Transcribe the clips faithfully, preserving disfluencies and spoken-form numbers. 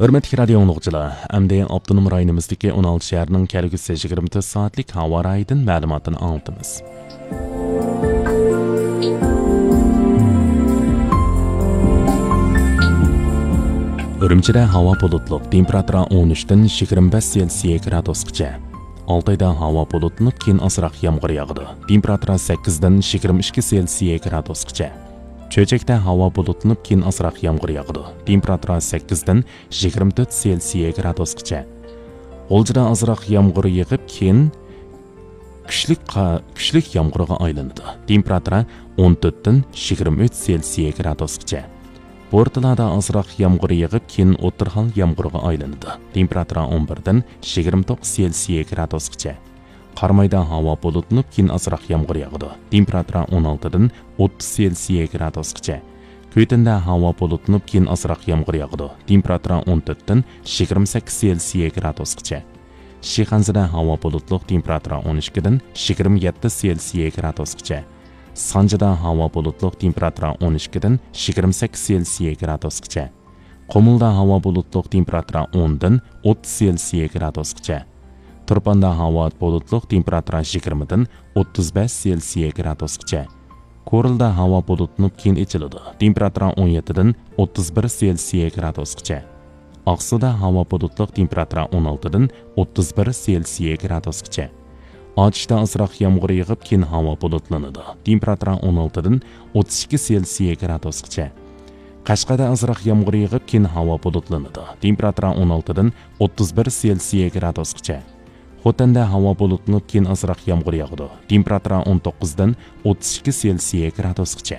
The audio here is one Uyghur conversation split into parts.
ھۆرمەتلىك رادىيو ئاڭلىغۇچىلار، ئەمدى ئاپتونوم رايونىمىزدىكى ئون ئالتە شەھەرنىڭ كەلگۈسى يىگىرمە تۆت سائەتلىك ھاۋا رايىدىن مەلۇماتنى ئاڭلىتىمىز. ئۈرۈمچىدە ھاۋا بۇلۇتلۇق، تېمپېراتۇرا ئون ئۈچتىن يىگىرمە بەش سېلسىيە گرادۇسقىچە. ئالتايدا ھاۋا بۇلۇتلىنىپ، كېيىن ئازراق يامغۇر ياغىدۇ. تېمپېراتۇرا سەككىزدىن يىگىرمە ئىككى سېلسىيە گرادۇسقىچە. چۆچەكتە ھاۋا بۇلۇتلىنىپ، كېيىن ئازراق يامغۇر ياغىدۇ. تېمپېراتۇرا سەككىزدىن يىگىرمە تۆت سېلسىيە گرادۇسقىچە. غۇلجىدا ئازراق يامغۇر يېغىپ، كېيىن كۈچلۈك قا-، كۈچلۈك يامغۇرغا ئايلىنىدۇ. تېمپېراتۇرا ئون تۆتتىن يىگىرمە ئۈچ سېلسىيە گرادۇسقىچە. بورتالادا ئازراق يامغۇر يېغىپ، كېيىن ئوتتۇرا ھال يامغۇرغا ئايلىنىدۇ. تېمپېراتۇرا ئون بىردىن يىگىرمە توققۇز سېلسىيە گرادۇسقىچە. قارامايدا ھاۋا بۇلۇتلىنىپ، كېيىن ئازراق يامغۇر ياغىدۇ. تېمپېراتۇرا ئون ئالتىدىن ئوتتۇز سېلسىيە گرادۇسقىچە. كۈيتۈندە ھاۋا بۇلۇتلىنىپ، كېيىن ئازراق يامغۇر ياغىدۇ. تېمپېراتۇرا ئون تۆتتىن يىگىرمە سەككىز سېلسىيە گرادۇسقىچە. شىخەنزىدە ھاۋا بۇلۇتلۇق، تېمپېراتۇرا ئون ئىككىدىن يىگىرمە يەتتە سېلسىيە گرادۇسقىچە. سانجىدا ھاۋا بۇلۇتلۇق، تېمپېراتۇرا ئون ئىككىدىن يىگىرمە سەككىز سېلسىيە گرادۇسقىچە. قۇمۇلدا ھاۋا بۇلۇتلۇق، تېمپېراتۇرا ئوندىن ئوتتۇز سېلسىيە گرادۇسقىچە. تۇرپاندا ھاۋا بۇلۇتلۇق، تېمپېراتۇرا يىگىرمىدىن ئوتتۇز بەش سېلسىيە گرادۇسقىچە. كورلىدا ھاۋا بۇلۇتلىنىپ، كېيىن ئېچىلىدۇ. تېمپېراتۇرا ئون يەتتىدىن ئوتتۇز بىر سېلسىيە گرادۇسقىچە. ئاقسۇدا ھاۋا بۇلۇتلۇق، تېمپېراتۇرا ئون ئالتىدىن ئوتتۇز بىر سېلسىيە گرادۇسقىچە. ئاتۇشتا ئازراق يامغۇر يېغىپ، كېيىن ھاۋا بۇلۇتلىنىدۇ. تېمپېراتۇرا ئون ئالتىدىن ئوتتۇز ئىككى سېلسىيە گرادۇسقىچە. قەشقەردە ئازراق يامغۇر يېغىپ، كېيىن ھاۋا بۇلۇتلىنىدۇ. تېمپېراتۇرا ئون ئالتىدىن ئوتتۇز بىر سېلسىيە گرادۇسقىچە. خوتەندە ھاۋا بۇلۇتلىنىپ، كېيىن ئازراق يامغۇر ياغىدۇ. تېمپېراتۇرا ئون توققۇزدىن ئوتتۇز ئىككى سېلسىيە گرادۇسقىچە.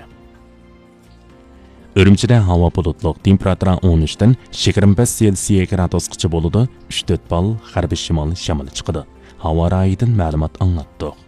ئۈرۈمچىدە ھاۋا بۇلۇتلۇق، تېمپېراتۇرا ئون ئۈچتىن يىگىرمە بەش سېلسىيە گرادۇسقىچە بولىدۇ. ئۈچ تۆت بال غەربىي شىمال شامىلى چىقىدۇ. ھاۋا رايىدىن مەلۇمات ئاڭلاتتۇق.